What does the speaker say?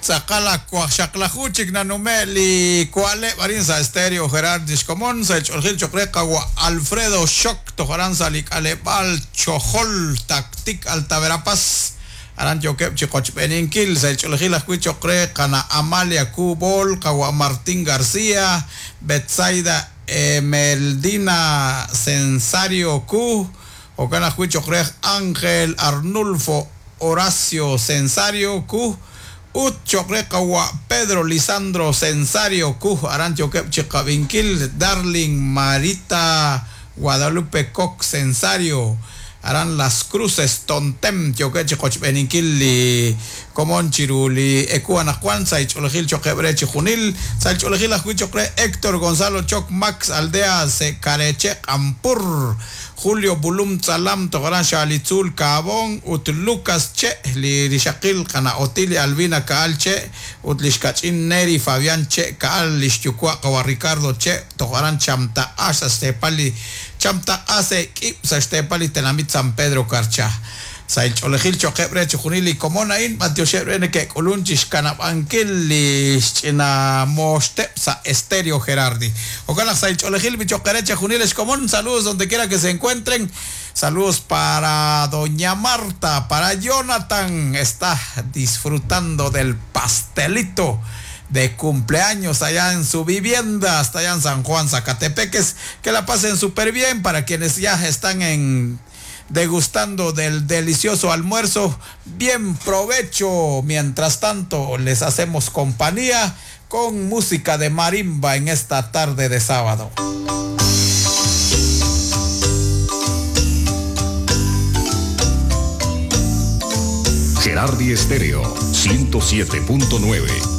Tz'aqal ak waqxaqlaju chik nanume' li wa'leb' arin sa' Stereo Gerardi xkomon sa' xch'oolejil cho'q re qawa' Alfredo Xoc toj aran sa' li k'aleb'aal Chojol, Tactic, Alta Verapaz. Aran yookeb' chi qochb'eeninkil sa' xch'oolejil ajwi' cho'q re qana' Amalia Ku Bol, qawa' Martín García, Betsaida Emeldina Censario Ku, jo'kan ajwi' cho'q re Ángel Arnulfo Horacio Censario Ku, ut cho'q re qawa' Pedro Lisandro Censario Ku. Aran yookeb' chi qab'inkil Darling Marita Guadalupe Cox Censario, aran Las Cruces, Tontem, yookeb' chi qochb'eeninkil li komon chiru li ewu anaqwan sa' xch'oolejil cho'qeb' re chi junil. Sa' xch'oolejil ajwi' cho'q re Héctor Gonzalo Choc Max Aldea Sekareche Q'ampur, Julio Bulum Tzalam toj aran Xaalitzuul Kaabon, ut Lucas Che li rixaqil qana' Otilia Albina Ka'al Che ut li xkach'in Neri Fabián Che Ka'al, li xyuwa' qawa' Ricardo Che toj aran Chamtaq'a sa' xteepal li Chamtaq'a se k'ib' sa' xteepal li tenamit San Pedro Carchá. Sa' xch'oolejil cho'qeb' re chi junil li komon a'in, b'antioxeb' re neke'k'ulun chi xkanab'ankil li xch'ina mooxteb' sa' Estéreo Gerardi. Jo'kan naq sa' xch'oolejil bicho'qere chi junil ex komon, saludos donde quiera que se encuentren. Saludos para doña Marta, para Jonathan, está disfrutando del pastelito de cumpleaños allá en su vivienda, hasta allá en San Juan, Zacatepeques. Que la pasen súper bien. Para quienes ya están en degustando del delicioso almuerzo, bien provecho. Mientras tanto, les hacemos compañía con música de marimba en esta tarde de sábado. Gerardi Estéreo 107.9.